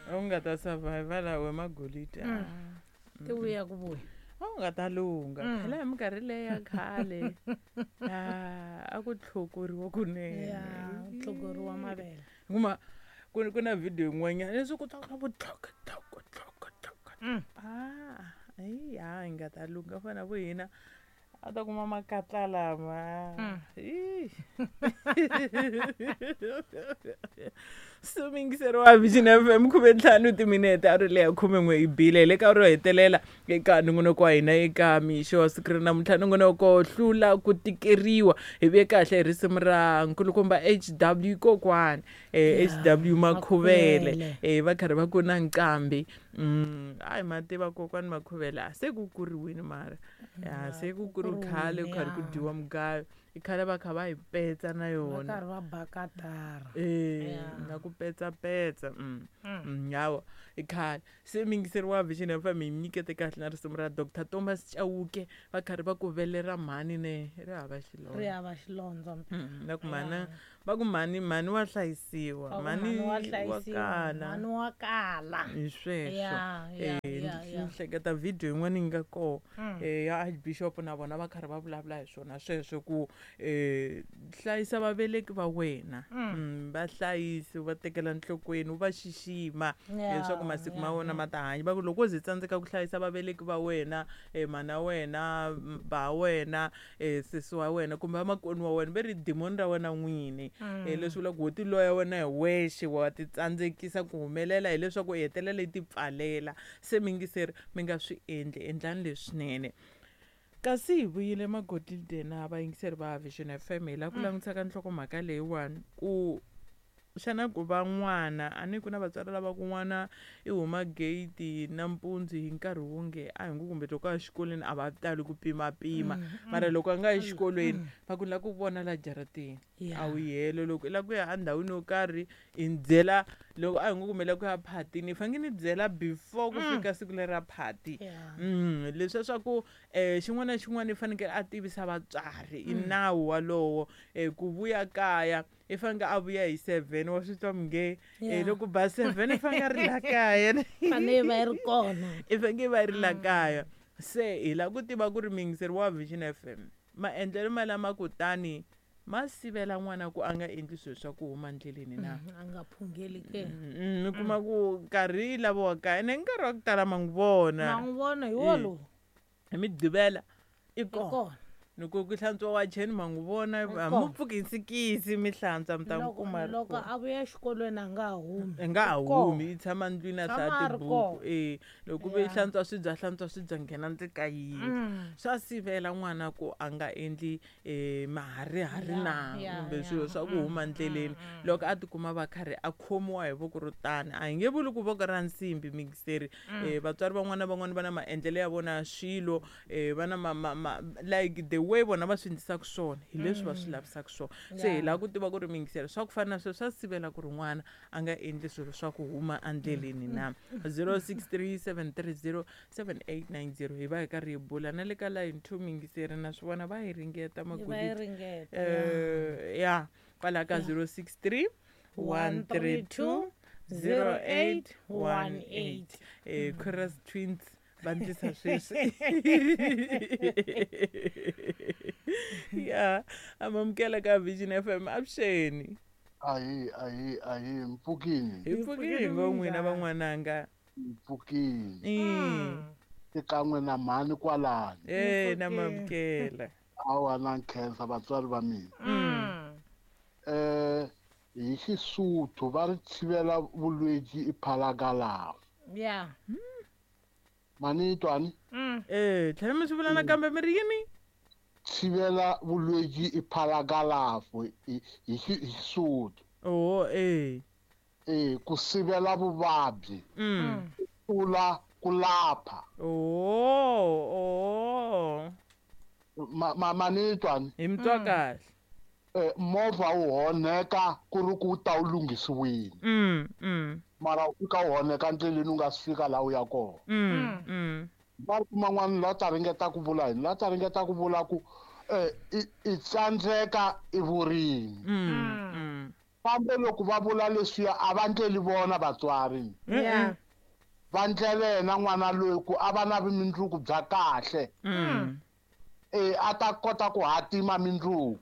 A wu nga ta survive laha we magolidi. Ti vuya ku vuya. A wu nga ta lungha. Phela hi minkarhi leyi ya khale, a ku tlhokoriwa kunene. Ya, tlhokoriwa mavele. Kuma ku na video yin'wanyana leswi ku twa ku tlhoko tlhoko tlhoko tlhoko. Ayi ha hi nga ta lungha fana vo hina a ta kuma makatla lama. So mingiseri wa Vision FM 15 timinete a ri leya 11 yi bile hi le ka ro hetelela eka nongonoko wa hina eka mixo wa siku ra namuntlha, nongonoko hlula ku tikeriwa. Hi vuye kahle hi risimu ra nkulukumba HW kokwani, HW Makhuvele, va karhi va ku na nqambi. A hi ma tiva kokwani Makhuvele, a se ku kuriwini mara ya se ku kuriwe khale ku karhi ku dyiwa mugayo, i khale va kha va hi petsa na yona, va karhi va bakatara, na ku petsa petsa. Hawa i khale se mingiseri wa Vision FM hi nyikete kahle na risimu ra Dr Thomas Chauke, va karhi va ku velera mhani ne ri hava xilondza, ri hava xilondza. Na ku mhani va ku mhani, mhani wa hlayisiwa, mhani wa kala, mhani wa kala hi sweswo. Ni hleketa video yin'wana yi nga kona ya Archbishop na vona va karhi va vulavula hi swona sweswo ku hlayisa vaveleki va wena, va hlayisi, va tekela nhlokweni, u va xixima leswaku masiku ma wena ma ta hanya. Va ku loko u ze tsandzeka ku hlayisa vaveleki va wena, mana wena, ba wena, sesi wa wena kumbe vamakweni wa wena, ve ri dimoni ra wena n'wini. Leswi vulaka ku wo tiloya wena hi wexe, wa ti tsandzekisa ku humelela hileswaku u hetelela yi ti pfalela. Se mingiseri mi nga swi endli, endlani leswinene. Kasi hi vuyile Magodide na vayingiseri va Vision FM hi lava ku langutisa ka nhlokomhaka leyiwani ku xana ku va n'wana, a ni ku na vatswari lava ku n'wana i huma gate nampundzu hi nkarhi wonge a hi ngo kumbe loko a ya xikolweni a va tali ku pimapima, mara loko a nga yi xikolweni va ku la ku vona la jarateni a wu yelo, loko i lava ku ya endhawini yo karhi i ni byela, loko a hi ngo kumbe la ku ya phatini i fanekele ni byela before ku fika siku leri ra phati. Leswiya swa ku xin'wana na xin'wana i fanekele a tivisa vatswari, i nawu walowo ku vuya kaya i fanekele a vuya hi 7, wa swi twa minge loko ba 7 i fanekele a ri la kaya, fanele va ri kona, i fanekele va ri la kaya. Se hi lava ku tiva ku ri mingiseri wa Vision FM maendlelo ma lama kutani ma sivela n'wana ku a nga endli swilo swa ku huma ndleleni na a nga phungeli ke. Mi kuma ku nkarhi lava wa kaya ene nkarhi wa ku tala ma n'wi vona, ma n'wi vona hi wolowo hi Migqivela i kona, loko ku hlantswa wacheni ma n'wi vona, a mu pfuki hi nsikisi mi hlantswa mi ta n'wi kuma. Loko a vuya exikolweni a nga humi, a nga humi, i tshama ndlwini a hlaya tibuku. Loko ve hlantswa swibya, hlantswa swibya, nghena ndzi ka yindlu. Swa sivela n'wana ku a nga endli maharihari na kumbe swilo swa ku huma ndleleni loko a tikuma va karhi a khomiwa hi voko ro tani. A hi nge vuli ku voko ra nsimbi mingiseri, vatswari van'wana na van'wana va na maendlelo ya vona ya swilo, va na like the way vona va swi endlisaka swona hi leswi va swi lavisaka swona. Se hi lava ku tiva ku ri mingiseri swa ku fana na sweswo swa sivela ku ri n'wana a nga endli swilo swa ku huma endleleni na. 0637307890 hi va hi karhi hi bula na le ka line 2 mingiseri, na swi vona va hi ringeta Magolidi ya kwala ka 063 132 0818. Chorus Twins va ndlisa sweswi. Ya amamukela ka Vision FM, avuxeni. Ahi ahi ahi, mpfukini. Hi pfukile ngo n'wina van'wananga. Mpfukini. Xikan'we na mhani kwalani. Na mamukela. Awa na nkhensa vatswari va mina. Hi Xisuthu va ri thivela vulwedzi i phalagalafu. Yeah. Mani twani? Tlhela mi swi vula nakambe mi ri yini? Thivela vulwedzi i phalagalafu hi Xisuthu. Oh, ku sivela vuvabyi. Tlula ku lapha. Oh. Mani twani? Hi mi twa kahle. Movha wu honeka ku ri ku ta wu lunghisiwile. Mara u fika wu honeka ndleleni u nga si fika laha u ya kona. Va kuma n'wana la ta ringeta ku vula yini? La ta ringeta ku vula ku i tsandzeka i vurimi. Kambe loko va vula leswiya a va ndleli vona vatswari. Va ndlela yena n'wana loyi ku a va na vumundzuku bya kahle. A ta kota ku hatima mindzuku.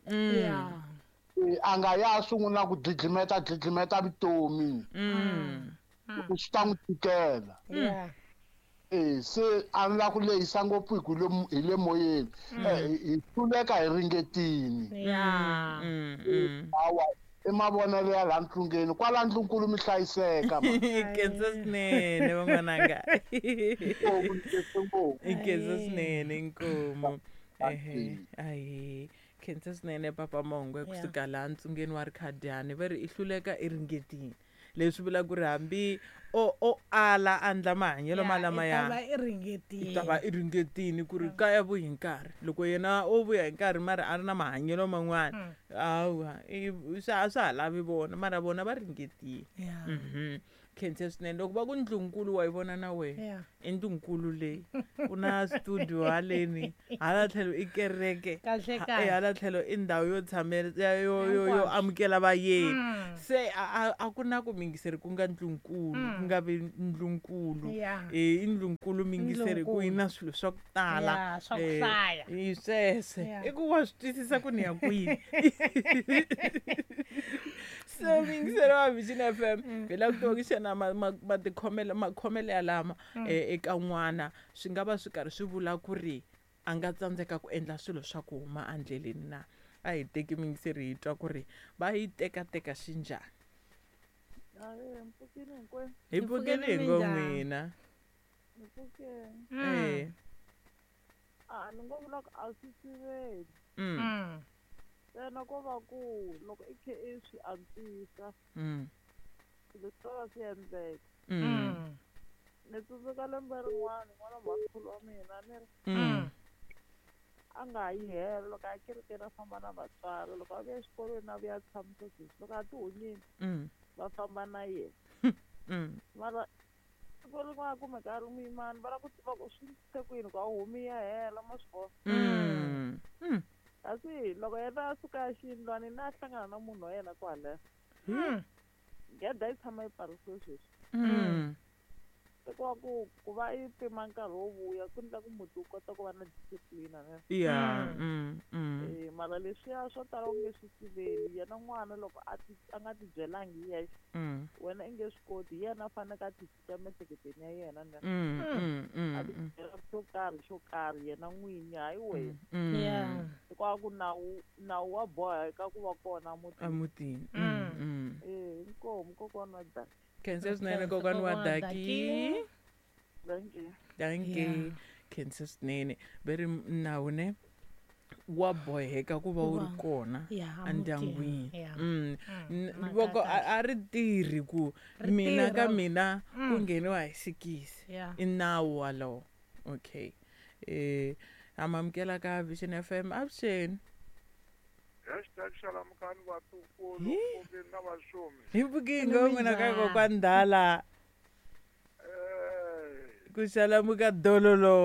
A nga ya sungula ku dlidlimeta vutomi. Ku swi ta n'wi tikela. Se a ni la ku lehisa ngopfu hi le moyeni. Hi hluleka hi ringetini. Hawa i mavonelo ya laha ntlungeni kwala ndlunkulu mi hlayiseka. Khensa swinene van'wananga. Khensa swinene inkomu. Ahe. Khensa swinene Papa Mongwe kusuka laha ntsungeni wa Rikhadiani va ri i hluleka i ringetini. Leswi vula ku ri hambi o ala andla mahanyelo malama ya i ta va i ringetini ku ri kaya vuyi hi nkarhi. Loko yena o vuya hi nkarhi mara a ri na mahanyelo man'wana hawa a swa ha lavi vona mara vona va ringetile. Khensa swinene loko va ku ndlunkulu wa yi vona na wena i ndlunkulu leyi ku na studio haleni hala tlhelo i kereke hala tlhelo i ndhawu yo tshamela yo amukela vayeni. Se a ku na ku mingiseri ku nga ndlunkulu ku nga vi ndlunkulu. I ndlunkulu mingiseri ku yi na swilo swa ku tala i sweswe i ku wa swi twisisa ku ni ya kwini. So mingiseri wa Vision FM hi lava ku tiva ku xana matikhomelo makhomelo ya lama eka n'wana swi nga va swi karhi swi vula ku ri a nga tsandzeka ku endla swilo swa ku huma endleleni na. A hi teki mingiseri hi twa ku ri va yi tekateka xinjhani. Hi pfukeni hi ngo n'wina. A ni ngo vula ku a swi siveli. Ntsena ko va ku loko i khe i swi antswisa swilo swi ta va swi endleka. Ni tsundzuka lembe rin'wana n'wana mhakulu wa mina ni ri a nga yi helo loko a kerekeni a famba na vatswari loko a vuya exikolweni a vuya tshamisa sweswi loko a ti hunyile va famba na yena. Mara siku rin'wana kumeka a ri muyimani va lava ku tiva ku swi se ku yini ku a humi ya hela ma swi vona. Kasi loko yena a suka xiyindlwanini a hlangana na munhu wa yena kwalaya. Gede yi tshama yi pfarisiwe sweswi. Hikuva ku va i pima nkarhi wo vuya ku endla ku muti wu kota ku va na discipline ne. Mara leswiya swo tala u nge swi siveli yena n'wana loko a nga ti byelangi hi yexe wena i nge swi koti hi yena a faneke a ti cinca miehleketweni ya yena ne. A ti byela xo karhi yena n'winyi hayi wena. Hikuva ku nawu wa boha eka ku va kona emutini. Inkomu kokwana wa Daki. Khensa swinene kokwana wa Daki. Thank you. Khensa swinene ve ri nawu ne wa boheka ku va wu ri kona endyangwini. Voko a ri tirhi ku mina ka mina ku ngheniwa hi sikisi i nawu walowo. Okay. Amamukela ka Vision FM avuxeni. #xalamukani vatukulu pfukeni na vaxumi. Hi pfukini ngo n'wina ka kokwani Ndala. Ku xalamuka dololo.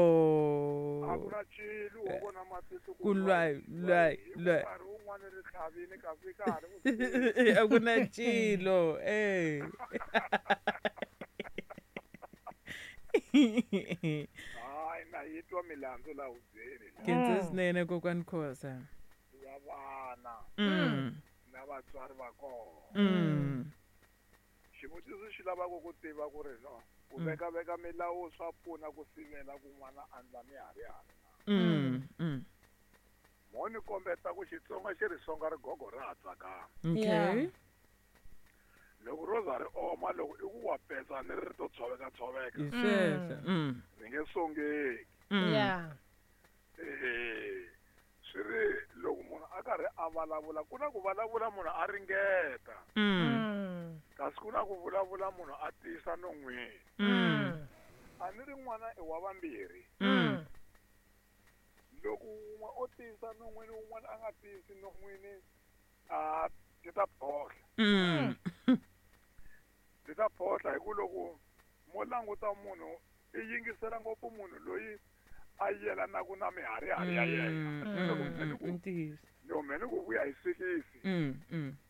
A ku na cilo wo vona matihlo ku lwai lwai lwai. Nkarhi wun'wani ri tlhavini kasi ka ha ri a ku na cilo. Hayi na yi twa milandzu laha hubyeni. Khensa swinene kokwani Khosa. Ya vana na vatswari va kona. Xivutiso xi lavaka ku tiva ku ri no ku veka milawu swa pfuna ku sivela ku n'wana a ndla miharihari na. Mo ni kombeta ku Xitsonga xi ri songa rigogo ra ha tsakama. Okay. Loko ro za ri oma loko i ku wa petsa ni ri to tshoveka. Ri nge songeki. Swi ri loko munhu a karhi a vulavula ku na ku vulavula munhu a ringeta. Kasi ku na ku vulavula munhu a tiyisa non'wini. A ni ri n'wana i wa vambirhi. Loko wun'we o tiyisa non'wini wun'wana a nga tiyisi non'wini a ti ta phohla. Ti ta phohla hi ku loko mo languta munhu i yingisela ngopfu munhu loyi a yelanaka na miharihari ya yena. Ni hume ni ku vuya hi 6.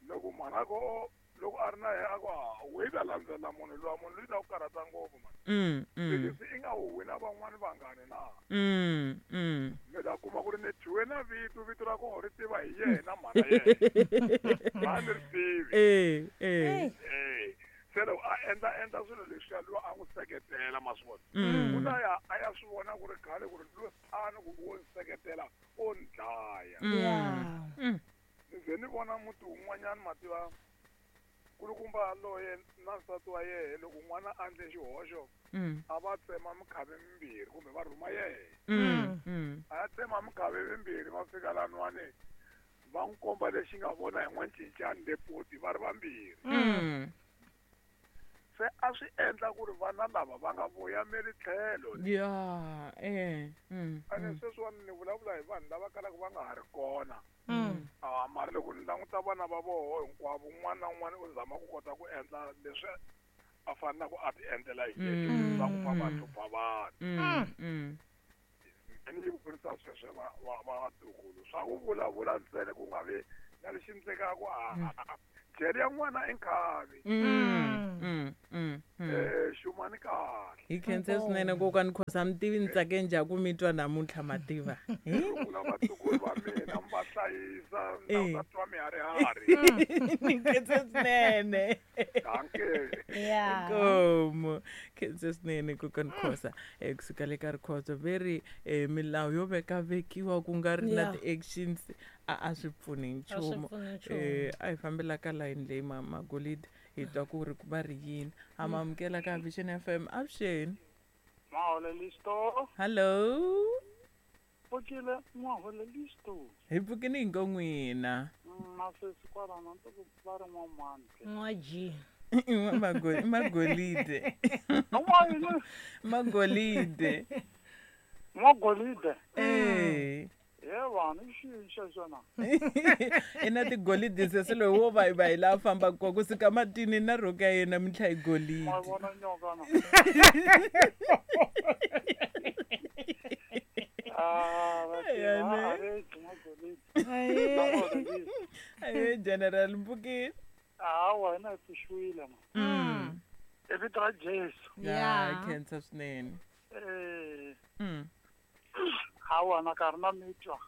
Loko mhana ko loko a ri na yena a ku we ta landzela munhu loyi munhu loyi ta ku karhata ngopfu mani. 6 i nga huwi na van'wani vangani na. Mi ta kuma ku ri ni dyiwe na vito, vito ra koho ri tiva hi yena mhana yena. A ni ri tivi. Se loko a endla swilo leswiya loyi a n'wi seketela ma swi vona. U ta ya a ya swi vona ku ri khale ku ri loyi a ni ku wo ni seketela o ni dlaya. Ni ze ni vona muti wun'wanyana mativa kulukumba loye na nsati wa yehe loko n'wana a endle xihoxo a va tsema mikhavi mimbirhi kumbe va rhuma yehe. A ya tsema mikhavi mimbirhi va fika laniwani va n'wi komba lexi nga vona hi n'wancincani le poti va ri vambirhi. Se a swi endla ku ri vana lava va nga voyameli tlhelo. Ene sweswiwani ni vulavula hi vanhu lava kalaka va nga ha ri kona. Mara loko ni languta vana va voho hinkwavo un'wana na un'wana u zama ku kota ku endla leswi a fanelaka a ti endlela hi yexe swa ku famba a hlupha vanhu. Ni yi vurisa sweswo va vatukulu swa ku vulavula ntsena ku nga vi na lexi endlekaka jele ya n'wana i nkhavi. Xumani kahle. Hi khense swinene kokwani Khosa mi tivi ni tsake njhani ku mi twa namuntlha mativa. Rungula vatukulu va mina mi va hlayisa na u ta twa miharihari. Ni khense swinene. Dankie. Inkomu. Khense swinene kokwani Khosa. Kusuka le ka Rikhotso veri milawu yo veka vekiwa ku nga ri na ti-actions a swi pfuni nchumu. A hi fambela ka line leyi Magolide hi twa ku ri va ri yini. Ha ma amukela ka Vision FM. Avuxeni. Maholelisto. Hello. Pfukile Maholelisto. Hi pfukile hi ngo n'wina. Masesi kwalano ndzi ku va ri n'wamani. N'waji. Magolide. Magolide. Magolide. Ye vanhu i xini xexo na? I na tigolide sesi loyi wo va hi laha fambaka kona kusuka matini na rhoka ya yena mintlha hi golide. Ma vona nyoka na? Aye General Mpukile. Hawa hina hi pfuxiwile ma. I vito ra Jesu. Ya khensa swinene. Hawa na karhi na mitwa.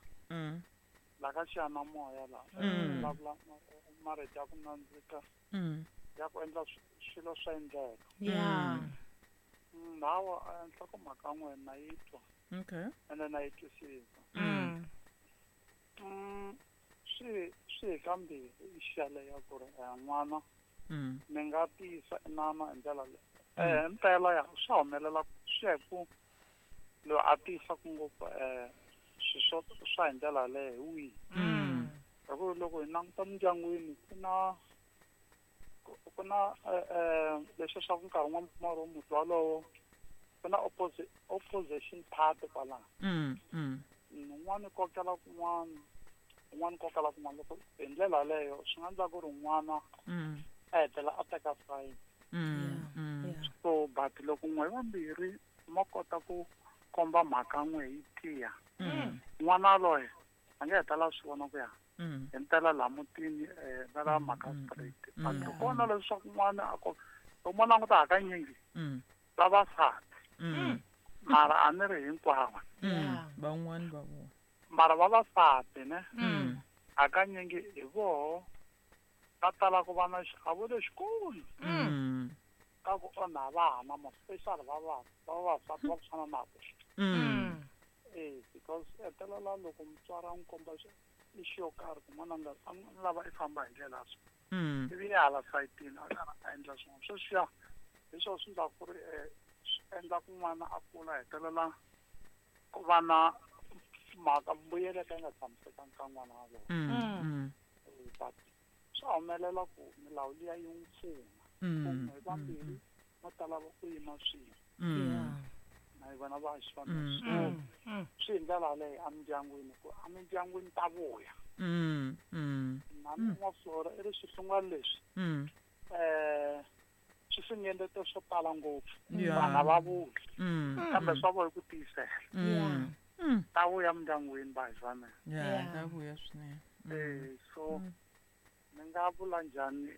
La ka xiyanimoya la. Vulavula marito ya ku nandzika. Ya ku endla swilo swa endleka. Hawa nhlokomhaka n'we na yi twa. Okay. Ene na yi twisisa. Swi hi kambirhi i xale ya ku ri n'wana mi nga tiyisa inana hi ndlela leyi. Mpela ya swa humelela swi ya hi ku loyi a tiyisaka ngopfu swilo swa hi ndlela yaleyo hi wihi. Hi ku loko hi languta mindyangwini ku na ku na leswi swa ku nkarhi wun'wani mi kuma ri muti walowo ku na opposition party kwalano. Un'wana kokela kun'wana, un'wana kokela kun'wana. Loko hi ndlela yaleyo swi nga endla ku ri n'wana a hetelela a teka side. So but loko n'we vambirhi ma kota ku komba mhaka n'we yi tiya, n'wana loye a nge hetelela swi vona ku ya hi mpela laha mutini va lava mhaka straight. But loko leswaku n'wana a ko loko mo languta hakanyingi vavasati mara a ni ri hinkwavo van'wani va vona mara vavasati ne hakanyingi hi voho va tala ku va na xiavo lexikulu ka ku onha vana ma special vavasati va ku fana na vo. Because hetelela loko mutswari a n'wi komba ixi yo karhi ku n'wana nga a n'wi lava i famba hi ndlela so ivi ya hala sayitini a karhi a endla swin'wana sweswiya hi swona swi endlaka ku ri swi endla ku n'wana a kula hetelela ku va na mhaka mbuyelo ka yi nga tshamisekanga ka n'wana walowo. But swa humelela ku milawu liya yi n'wi pfuna kumbe vambirhi va ta lava ku yima swin'we na vona va xivana swi hi ndlela yaleyo emindyangwini ku emindyangwini ta vuya. Na n'waflora i ri swihlungwana leswi swi finengete swo tala ngopfu vana va vuya kambe swa voho hi ku tiyisela. Ta vuya mindyangwini va hi fanele. Ta vuya swinene. So ni nga vula njhani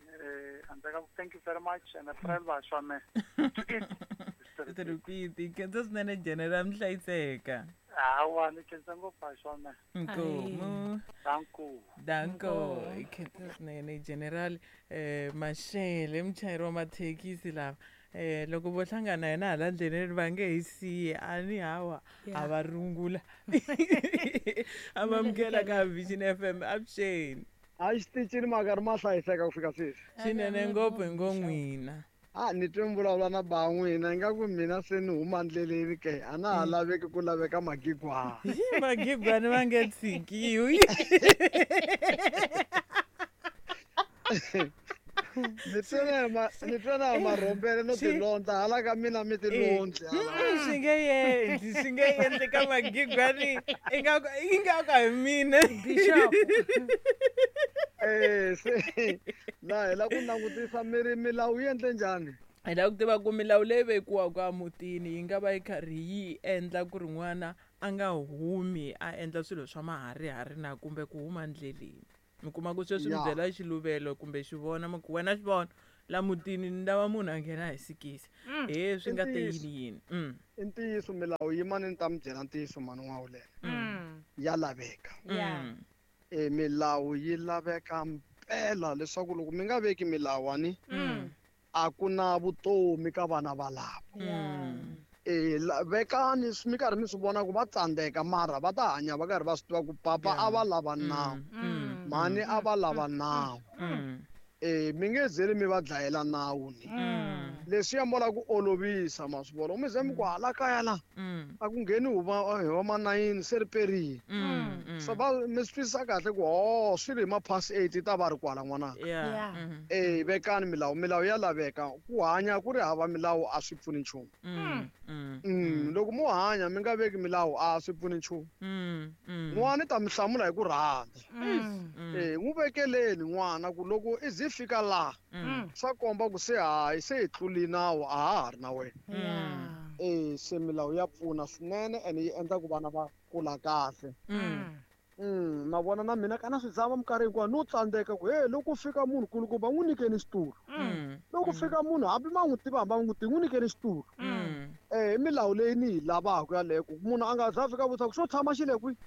handle ka thank you very much and friend va swa me. Repeat, khensa swinene General mi hlayiseka. Hawa ni khensa ngopfu swa me. Nkomu. Danko. Danko, khensa swinene General Mashele muchayeri wa mathekisi lava. Loko vo hlangana yena hala ndleleni va nge hi siyi a ni hawa a va rungula. A va amukela ka Vision FM avuxeni. A xitichini maka ri ma hlayiseka ku fika sweswi. Swinene ngopfu hi ngo n'wina. A ni twe mi vulavula na ba n'wina ingaku mina se ni huma ndleleni ke a na ha laveki ku laveka magigwana. Magigwana va nge tshikiwi. Ni twe na marhombele no tilondla hala ka mina mi tilondli. Swi nge endli, swi nge endli ka magigwani ingaku a hi mina. Bishop. Se na hi la ku langutisa miri milawu yi endle njhani? Hi lava ku tiva ku milawu leyi vekiwaka emutini yi nga va yi karhi yi endla ku ri n'wana a nga humi a endla swilo swa maharihari na kumbe ku huma ndleleni. Mi kuma ku sweswi mi byela xiluvelo kumbe xivona mi ku wena xivona la mutini ni lava munhu a nghena hi sikisi. He swi nga te yini yini. I ntiyiso milawu yi mani ni ta mi byela ntiyiso mani n'wawulela. Ya laveka. Milawu yi laveka mpela leswaku loko mi nga veki milawu ani a ku na vutomi ka vana valavo. Vekani mi karhi mi swi vona ku va tsandzeka mara va ta hanya va karhi va swi tiva ku papa a va lava nawu. Mhani a va lava nawu. Mi nge zeli mi va dlayela nawu ni. Leswi ya mola ku olovisa ma swi vona. Mi ze mi ku hala kaya la a ku ngheni hi va ma 9 se ri perile. So va mi swi twisisa kahle ku swi ri hi ma past 8 ta va ri kwala n'wananga. Vekani milawu, milawu ya laveka. Ku hanya ku ri hava milawu a swi pfuni nchumu. Loko mo hanya mi nga veki milawu a swi pfuni nchumu. N'wana ta mi hlamula hi ku rhandza. N'wi vekeleni n'wana ku loko i ze fika laha swa komba ku se hayi se hi tluli nawu a ha ha ri na wena. Se milawu ya pfuna swinene ene yi endla ku vana va kula kahle. Ma vona na mina kana swi zama minkarhi hinkwayo no tsandzeka ku he loko fika munhu kulukumba n'wi nyikeni xitulu. Loko fika munhu hambi ma n'wi tiva hambi ma n'wi tivi n'wi nyikeni xitulu. I milawu leyi ni yi lavaka yaleyo ku munhu a nga za fika vutisa ku xo tshama xi le kwihi.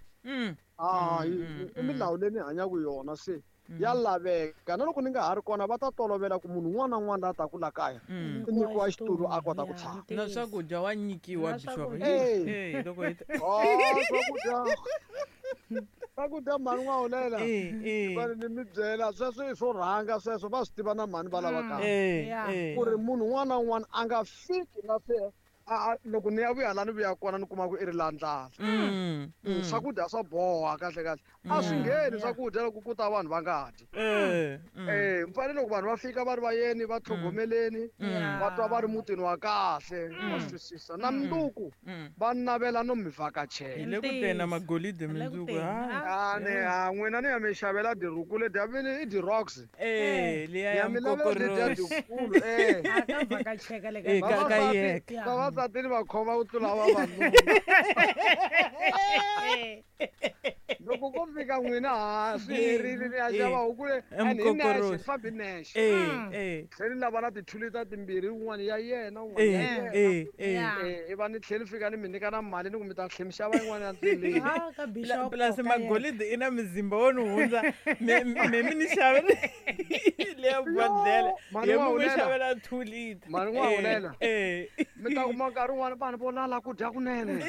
I milawu leyi ni hanyaka yona se ya laveka na loko ni nga ha ri kona va ta tolovela ku munhu un'wana na un'wana la taku la kaya i nyikiwa xitulu a kota ku tshama. Na swakudya wa nyikiwa Bishop. Loko hi swakudya mhani n'wawulela ni mi byela sweswo i swo rhanga sweswo va swi tiva na mhani va lava kaya ku ri munhu un'wana na un'wana a nga fiki na se loko ni ya vuya la ni vuya kona ni kuma ku i ri la ndlala. Swakudya swa boha kahle kahle a swi ngheni swakudya loko ku ta vanhu va nga dyi. Mfanele loko vanhu va fika va ri vayeni va tlhogomeleni va twa va ri mutini wa kahle va swi twisisa na mundzuku va navela no mi vhakachela. Hi le ku tena magolide mundzuku. N'wina ni ya mi xavela diruku letiya i di-rocks. Liya ya mukokoroxi. Ka yeka. Vavasati ni va khoma ku tlula vavanuna. Loko ko fika n'wina ha swi herile ni ya xava huku le and hi nexe fambi nexe. Tlhela ni lava na tithulita timbirhi wun'wana ya yena wun'wana ya yena. I va ni tlhela ni fika ni mi nyika na mali ni ku mi ta tlhela mi xava yin'wana ya ndleleni. Plus magolide i na muzimba wo ni hundza me mi ni xavela leya bodlhela ye mi n'wi xavela 2 liter. Mali n'wahulela. Mi ta kuma nkarhi wun'wana vanhu vo lala ku dya kunene.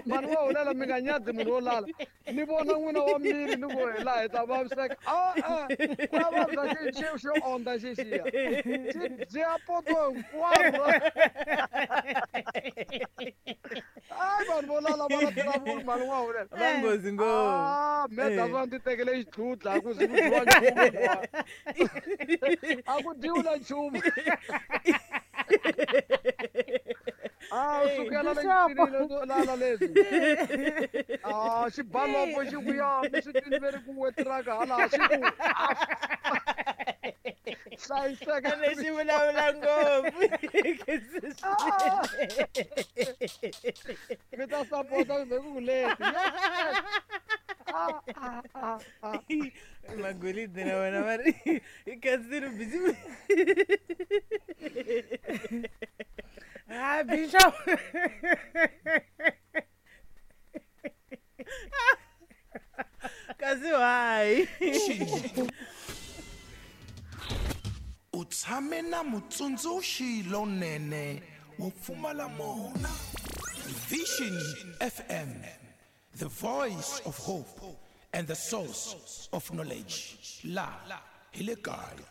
Mali n'wahulela mi nga nyadzi munhu wo lala. Ni vona n'wina wa miri ni ku hi laha hi ta vaviseka. Ku ya vabya xi ondza xixiya. Xi dya poto hinkwaro. Vanhu vo lala va na tilavula mali n'wahulela. Va nghozi ngopfu. Me ta va ndzi tekele xitlhutla a ku zi ku dyiwa nchumu. A ku dyiwi na nchumu. Sukela le lala leswi. Xibalopo xi ku ya mi swi twini ve ri ku wetiraka hala xi ku hlayiseka. Lexi vulavula ngopfu. Mi ta sapota kumbe ku ku leti. Magolide na wena va ri i khansile busy. Ah, bishop. Kasi why? U tshame na mutsundzuxi lonene wo pfumala mona. Vision FM, the voice of hope and the source of knowledge. La hi le kaya.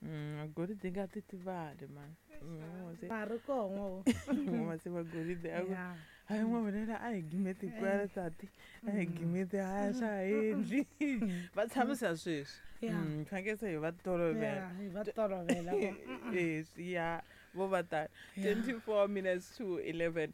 Magolide nga titivali man. Ma ri koho. N'wa se magolide a ku hayi n'wavulela a hi gimeti kwala tati, a hi gimeti, haya swa ha endli va tshamisa sweswi. Fanekele se hi va tolovela. Hi va tolovela. Eh, ya vo va tani 24 minutes to 11,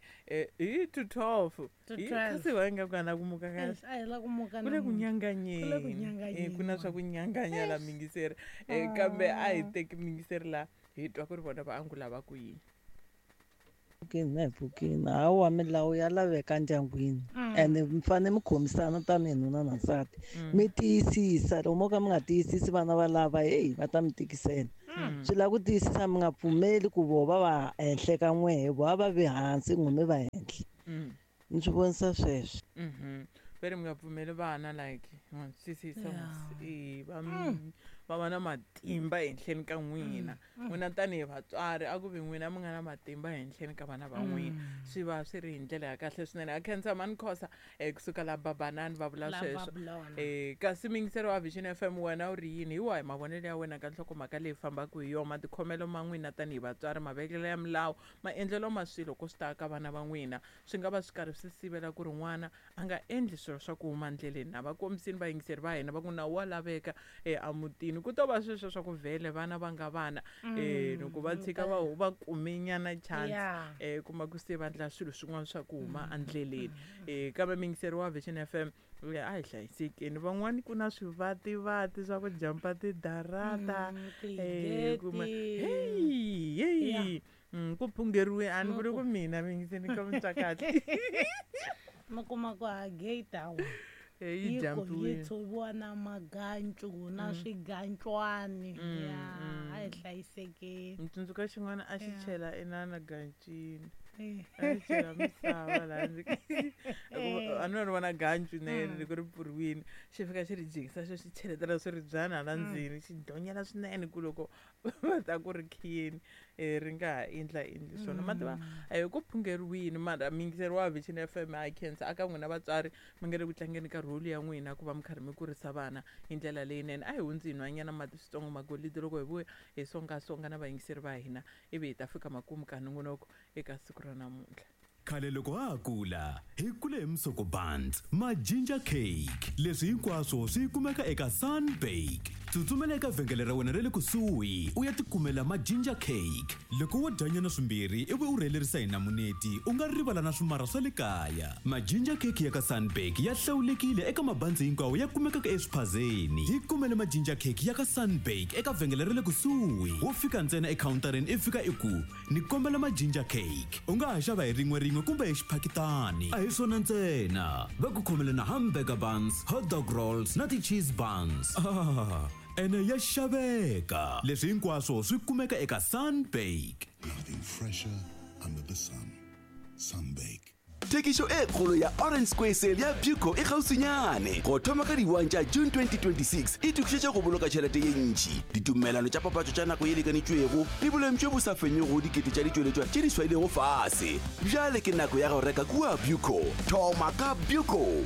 hi to 12. To Hi 12. Kasi va nga ku ana ku muka kahle. Eish, a hi la ku muka Ku le ku namuntlha. nyanganyeni. Ku le ku nyanganyeni, Eh, ku na swa ku nyanganya la mingiseri. Kambe a hi teki mingiseri la hi twa ku ri vona va angula va ku yini. Pfukini na hi pfukini, hawa, milawu ya laveka ndyangwini ene mi fane mi khomisana tanihi nuna na nsati, mi tiyisisa. Loko mo ka mi nga tiyisisi, vana va lava heyi va ta mi tikisela. Swi lava ku tiyisisa, mi nga pfumeli ku vo va va henhle ka n'wehe, vo a va vi hansi, n'we mi va henhla. Ni swi vonisa sweswo. Ve ri mi nga pfumeli vana like ma twisisa mos? E va va va na matimba ehenhleni ka n'wina. N'wina tanihi vatswari, a ku vi n'wina mi nga na matimba ehenhleni ka vana va n'wina, swi va swi ri hi ndlela ya kahle swinene. A khensa mani Khosa, kusuka la Babanani va vula La sweswo. Babylon. Kasi mingiselo wa Vision FM, wena u ri yini? Hi wahi mavonelo ya wena ka nhlokomhaka leyi fambaka hi yona, matikhomelo ma n'wina tanihi vatswari, mavekelo ya milawu, maendlelo ma swilo ko swi ta ka vana va n'wina, swi nga va swi karhi swi sivela ku ri n'wana a nga endli swilo swa ku huma ndleleni? Na va kombisini vayingiseri va hina va ku nawu wa laveka emutini, ku to va sweswo swa ku vhele vana va nga vana, loko va tshika va kume nyana chance, kuma ku se va endla swilo swin'wana swa ku huma endleleni. Kambe mingiseri wa Vision FM, a hi hlayisekeni. Van'wani ku na swivativati swa ku jampa tidarata, kuma tigeti. Heyi heyi, ku phungeriwe a ni vuli ku mina mingiseni ka mutwa kahle. Mi kuma ku ha gate hawa Eh, yi yi ko yi jampiwile. tshoviwa na magancu na swigancwani. Ya, a hi hlayisekeni. Ni tsundzuka xin'wana a xi chela inana gancini, a xi chela misava laha ndzi a ni ri vona gancu nene loko ri pfuriwile, xi fika xi ri jikisa, xo xi cheletela swiribyana hala ndzeni, xi donyela swinene ku loko va ta ku ri khiyeni, ri nga ha endla endli swona ma tiva. Ku phungeriwini mara mingiseri wa Vision FM, a khensa aka n'wina vatswari mi nga le ku tlangeni ka role ya n'wina ku va mi karhi mi kurisa vana hi ndlela leyinene. A hi hundzi hi nwanyana mati switsongo, magolidi, loko hi vuya hi songasonga na vayingiseri va hina, ivi hi ta fika makumu ka nongonoko eka siku ra namuntlha. Khale loko ha ha kula, hi kule hi musoko buns, ma-ginger cake, leswi hinkwaswo swi kumeka eka Sunbake. Tsutsumela eka vhengele ra wena ra le kusuhi u ya tikumela ma-ginger cake. Loko wo dyanyana swimbirhi ivi u rhelerisa hi namuneti, u nga rivala na swimara swa le kaya. Ma-ginger cake ya ka Sunbake ya hlawulekile eka mabanzi hinkwawo ya kumekaka eswiphazeni. Hi kumele ma-ginger cake ya ka Sunbake eka vhengele ra le kusuhi. Wo fika ntsena ekhawuntarini, i fika i ku ni kombela ma-ginger cake. U nga ha xava hi rin'we rin'we kumbe hi xiphakitani. A hi swona ntsena, va ku khomele na hamburger buns, hot dog rolls na ti-cheese buns. Ah, ene ya xaveka. Leswi hinkwaswo swi kumeka eka Sunbake. Nothing fresher under the sun. Sunbake. Thekišo e kgolo ya Orange Square Sale ya Buco e kgauswinyane go thoma ka di-1 tša June 2026. E tokišetša go boloka tšhelete ye ntši, ditumelano tša papatšo tša nako ye lekanetšwego le boleng bjo bo sa fenyego dikete tša ditšweletšwa tše di swailego fase. Bjale ke nako ya go reka kua Buco. Thoma ka Buco.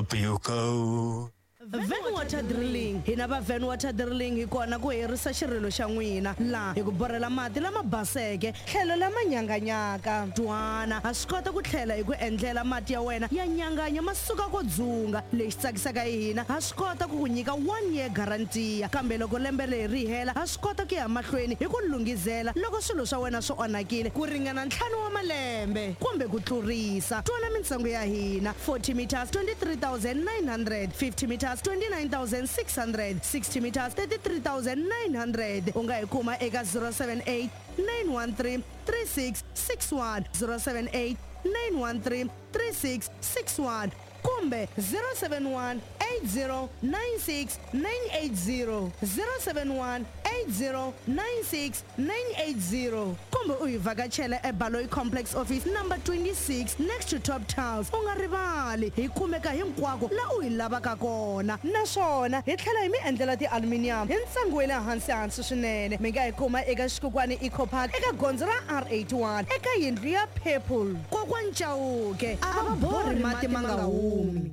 Buco. Van Water Drilling. Hina va Van Water Drilling hi kona ku herisa xirilo xa n'wina laha hi ku borhela mati lama baseke tlhelo lama nyanganyaka. Twana, ha swi kota ku tlhela hi ku endlela mati ya wena ya nyanganya ma suka ko dzunga. Lexi tsakisaka hi hina, ha swi kota ku ku nyika one year guarantee, kambe loko lembe leri ri hela, ha swi kota ku ya mahlweni hi ku lunghizela loko swilo swa wena swi onhakile ku ringana 5 wa malembe kumbe ku tlurisa. Twana mintsengo ya hina: 40 meters 23,900, 50 meters 29,600, 60 meters 33,900. U nga hi kuma eka 078 913 3661, 078 913 3661. Kumbe 071 80 96 980 071 80 96 980 kumbe u hi vhakachela eBaloyi Complex Office number 26 next to Top Tiles. U nga rivali, hi kumeka hinkwako la u hi lavaka kona, naswona hi tlhela hi mi endlela ti-aluminium hi ntsengo wa le hansi hansi swinene. Mi nga hi kuma eka Xikukwani Eco Park eka gondzo ra R81 eka yindlu ya purple. Kokwani Chauke a va borhi mati ma nga humi.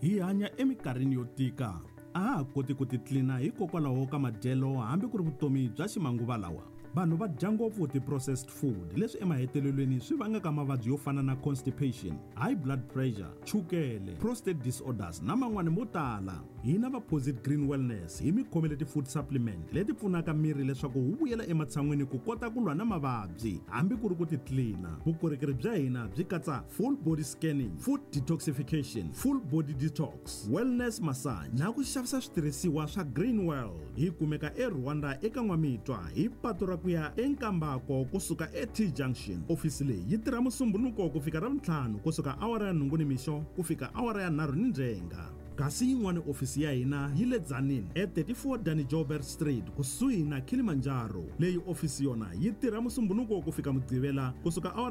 Hi hanya eminkarhini yo tika. A ha ha koti ku titlina hikokwalaho ka madyelo hambi ku ri vutomi bya ximanguva lawa. Vanhu va dya ngopfu ti-processed food, leswi emahetelelweni swi vangaka mavabyi yo fana na constipation, high blood pressure, chukele, prostate disorders na man'wani mo tala. Hina va Posit Green Wellness hi mi khomele ti-food supplement leti pfunaka miri leswaku wu vuyela ematshan'wini ku kota ku lwa na mavabyi hambi ku ri ku titlina. Vukorhokeri bya hina byi katsa full body scanning, food detoxification, full body detox, wellness massage na ku xavisa switirhisiwa swa Green World. Hi kumeka eRwanda eka N'wamitwa hi patu ra ku ya eNkambako kusuka eT Junction. Ofisi leyi yi tirha Musumbhunuko ku fika Ravuntlhanu kusuka awara ya 8 nimixo ku fika awara ya 3 nindzhenga. Kasi yin'wana ofisi ya hina yi le Tzaneen e 34 Danny Joubert Street kusuhi na Kilimanjaro. Leyi ofisi yona yi tirha Musumbhunuko ku fika Mugqivela kusuka awara